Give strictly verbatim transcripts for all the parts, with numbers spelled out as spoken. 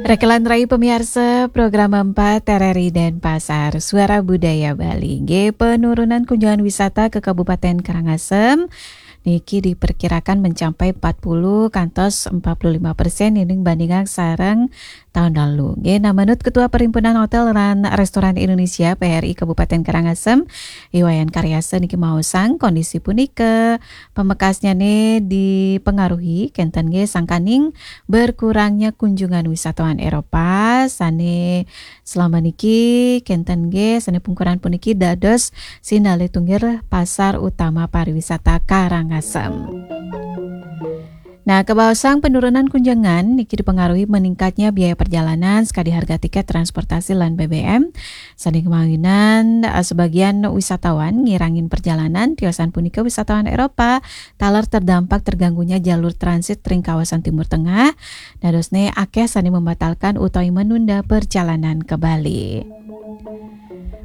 Rekelan rai pemiarsa program empat R R I Denpasar, Suara Budaya Bali. Nggih, penurunan kunjungan wisata ke Kabupaten Karangasem niki diperkirakan mencapai empat puluh kantos empat puluh lima persen ining bandingang sareng tahun lalu. Nggih, nah, menurut Ketua Perhimpunan Hotel lan Restoran Indonesia, P H R I, Kabupaten Karangasem, I Wayan Karyasa niki maosang kondisi punika pamekasnyane dipengaruhi kenten nggih sangkaning berkurangnya kunjungan wisatawan Eropa sane selama niki kenten nggih sane pungkuran puniki dados sinalih tunggil pasar utama pariwisata Karangasem. Nah, kabaosang penurunan kunjungan niki dipengaruhi meningkatnya biaya perjalanan sekadi harga tiket transportasi lan B B M. Sane kemawinan, eh, sebagian wisatawan ngirangin perjalanan, tiosan punika wisatawan Eropa, taler terdampak terganggunya jalur transit ring kawasan Timur Tengah, dadosne akeh sane membatalkan utawi menunda perjalanan ke Bali.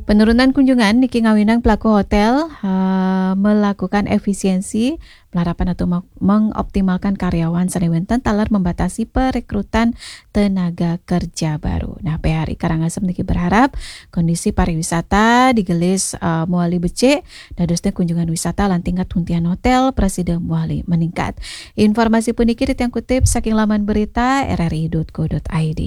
Penurunan kunjungan niki ngawinang pelaku hotel, eh, melakukan efisiensi malarapan atau meng-, mengoptimalkan karyawan sane wenten taler membatasi perekrutan tenaga kerja baru. Nah, P H R I Karangasem niki berharap kondisi pariwisata digelis, eh, mawali becik, dadosne kunjungan wisata lan tingkat huntian hotel prasida mawali meningkat. Informasi puniki titiang kutip saking laman berita R R I dot co dot I D.